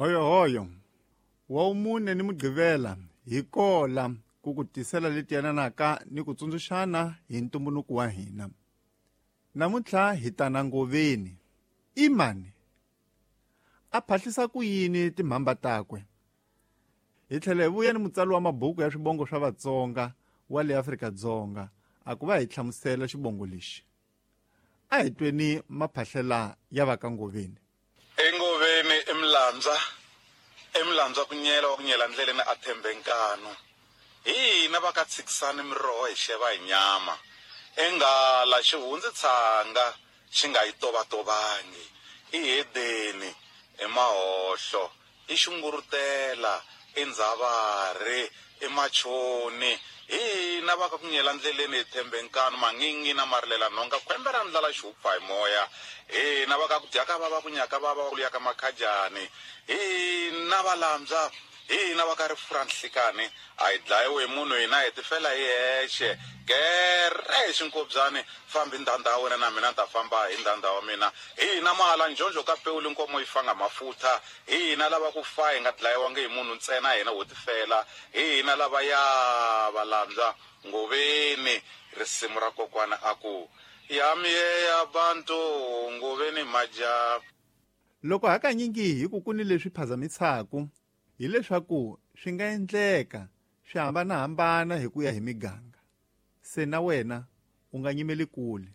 Hoyohoyo wa wumune ni Mugqivela hi kola ku ku tisela leti yananaka ni ku tsundzuxana hi ntumbuluko wa hina. Namuntlha hi ta na Ngoveni. I mani? A phahlisa ku yini timhamba takwe? Hi tlhela hi vuya ni mutsari wa mabuku ya swibongo swa Vatsonga wa le Afrika-Dzonga a ku va hi hlamusela xibongo lexi. A hi tweni maphahlela ya va ka Ngoveni. Engoveni i Mlandza, i Mlandza ku nyela wa ku nyela ndleleni a thembe nkanu. Hi hina va ka tshikisani miroho hi xeva hi nyama. Enghala xi hundzi tshanga xi nga yi tovatovangi. I hedeni, i mahohlo, i xungurutela, i ndzhavari, i machoni. Hi hina va ka ku nyela ndleleni hi thembe nkanu, mangingi na marilela nhonga, khwembe ra ndlala xi hupfa hi moya. Hi hina va ka ku dya ka vava ku nyaka vava ku ya ka makhajani. Hi hina valambya, hi hina va ka rifu ra nhlikani, a hi dlayiwi hi munhu hina hi tifela hi hexe. Gerhe hi xinkobyani, fambi ndhandha ya wena na mina ni ta famba hi ndhandha wa mina. Hi hina mahala njonjo ka pewu linkomo yi fanga mafutha. Hi hina lava ku fa hi nga dlayiwangi hi munhu ntsena hina ho tifela. Hi hina lava ya valambya Ngoveni. Risimu ra kokwana a ku ya miyeya bantu Ngoveni maja. Loko hakanyingi hi ku ku ni leswi phazamisaka, hileswaku swi nga endleka swi hambana-hambana hi ku ya hi miganga. Se na wena u nga nyimeli kule,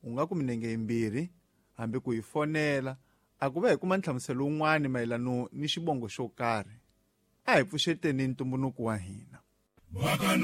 u nga ku minenge yimbirhi hambi ku hi fonela a ku va hi kuma nhlamuselo wun'wana mayelano ni xibongo xo karhi. A hi pfuxeteni ntumbuluko wa hina.